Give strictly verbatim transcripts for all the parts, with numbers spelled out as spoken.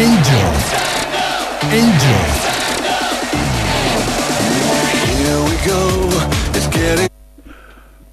Angel. Angel. Here we go. It's getting.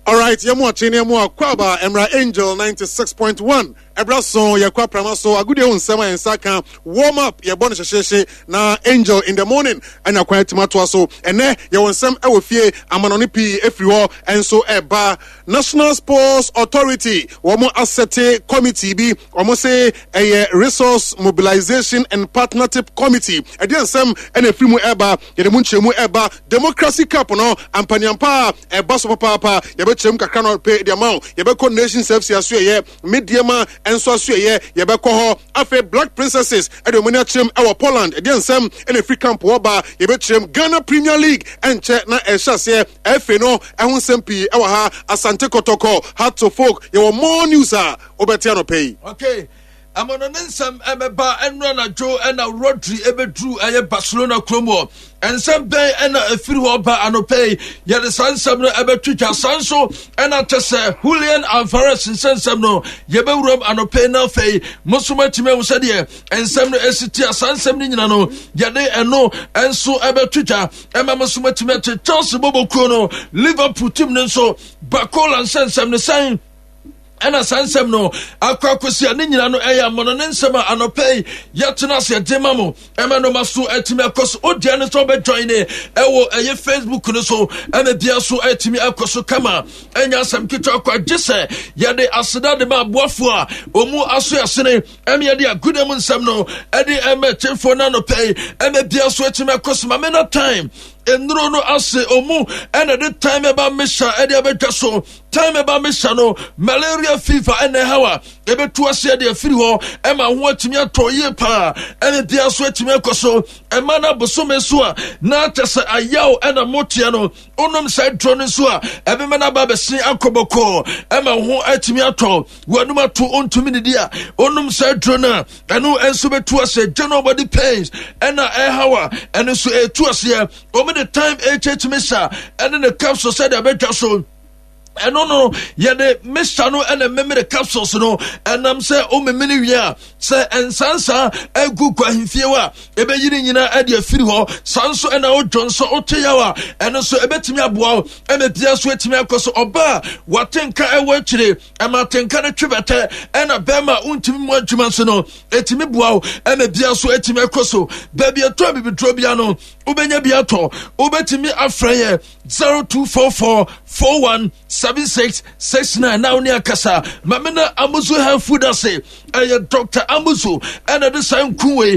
Alright, yɛmu akye ne yɛmu akwaba Emra Angel ninety-six point one. Ɛbra so yɛkɔ aprama so agodie ho nsɛm a yɛn nsa ka, warm up, yɛbɔ no hyehyehye na Angel in the morning ɛna kwan atumi atoa so. Ɛnɛ yɛwɔ nsɛm ɛwɔ fie, amanɔne pii efiri hɔ ɛnso ɛba. National Sports Authority wɔn aset committee bi, wɔn se ɛyɛ Resource Mobilization and Partnership Committee. Ɛdeɛ nsɛm ɛna efiri mu ɛba, yɛde mu nkyɛnmu ɛba. Democracy Cup no ampaniampa a ɛba so papaapa, yɛbɛkyerɛ mu kakra no pe deɛ ma wo. Yɛbɛkɔ Nations F C aso, ɛyɛ Medeama nso aso, ɛyɛ yɛbɛkɔ hɔ. Afei Black Princesses ɛde wɔn ani akyerɛm ɛwɔ Poland, ɛdeɛ nsɛm ɛna efiri camp hɔ ba, yɛbɛkyerɛm. Ghana Premier League ɛnkyɛ na ɛhyɛ aseɛ, ɛfɛ no ɛho nsɛm pii ɛwɔ ha. Asante Kɔtɔkɔ, Hearts of Oak, yɛwɔ more news a wobɛte anɔpɛ yi. Okay, ɛmɔno ne nsɛm ɛbɛba. Ɛno anadwo ɛna Rodri ɛbɛduru ɛyɛ Barcelona kurom hɔ. Nsɛm bɛn ɛna ɛfiri hɔ ba anɔpɛ yi? Yɛde saa nsɛm no ɛbɛtwitwa. Saa nso ɛna kyɛ sɛ Julian Alvarez nsɛnsɛm no yɛbɛwuram anɔpɛ yi, na afei mo nso moatumi ahu sɛdeɛ nsɛm no ɛsi tia. Saa nsɛm no nyina no yɛde ɛno ɛnso ɛbɛtwitwa ɛma mo nso moatumi ate. Chelsea bɔbɔkuo no, Liverpool team no nso, Barcola nsɛnsɛm no sɛn ɛna saa nsɛm no akɔ akɔsi a ne nyina no ɛyɛ amono ne nsɛm a anɔpɛ yi yɛtena ase ɛde ma mo, ɛma no ma so atumi akɔ so. Wodeɛ no sɛ wobɛjoin ne ɛwɔ ɛyɛ Facebook no so, ɛma bia so atumi akɔ so kama. Ɛnyɛ asɛm ketewa kɔ agye sɛ yɛde aseda de ma aboafoɔ a ɔmu aso asene ɛma yɛde aguda mu nsɛm no ɛde ɛma akyɛfoɔ no anɔpɛ yi, ɛma bia so atumi akɔ so. Ma me na time nnuro no ase ɔmu ɛna de time ɛba mesa ɛde abɛdwa so. Time ɛba mesa no, malaria, fever ɛna ɛhaw a ɛbɛtu aseɛ de afiri hɔ, ɛma ho atumi atɔ yie paa, ɛna bia so atumi akɔ so. Ɛma no abosome so a na kyɛ sɛ ayaw ɛna moteɛ no, wonom saa duro no nso a, ɛbɛma no aba abɛsen akɔ bɔkɔɔ, ɛma ho atumi atɔ wɔnum ato ɔntumi didi a, wonom saa duro no a, ɛno nso bɛtu aseɛ. General body pains ɛna ɛhaw a, ɛno nso ɛtu aseɛ. Wɔn de Time H H mixture ɛne ne capsule sɛdeɛ ɛbɛtwa so. Ɛno no yɛde mixture no ɛna memere capsules no, ɛnam sɛ womemene wie a, sɛ nsansa agu kɔ ahemfie hɔ a, ɛbɛyi ne nyinaa ɛde afiri hɔ. Saa nso ɛna wodwo nso wote yaw a, ɛno nso ɛbɛtumi aboa wo, ɛma bia so atumi akɔ so. Ɔba a wate nka ɛwɔ akyire, ɛma atenka no twe bɛtɛ, ɛna bɛrima a wontumi mu adwuma nso no, ɛtumi boa wo, ɛma bia so atumi akɔ so. Baabi ɛtɔ abibiduro bia no, wobɛnya bi atɔ. Wobɛtumi afrɛ yɛ zero two four four four one seven six six nine na wo ne akasa. Mame na Amuzu Health Food ase, ɛyɛ Doctor Amuzu ɛna de saa nku wei.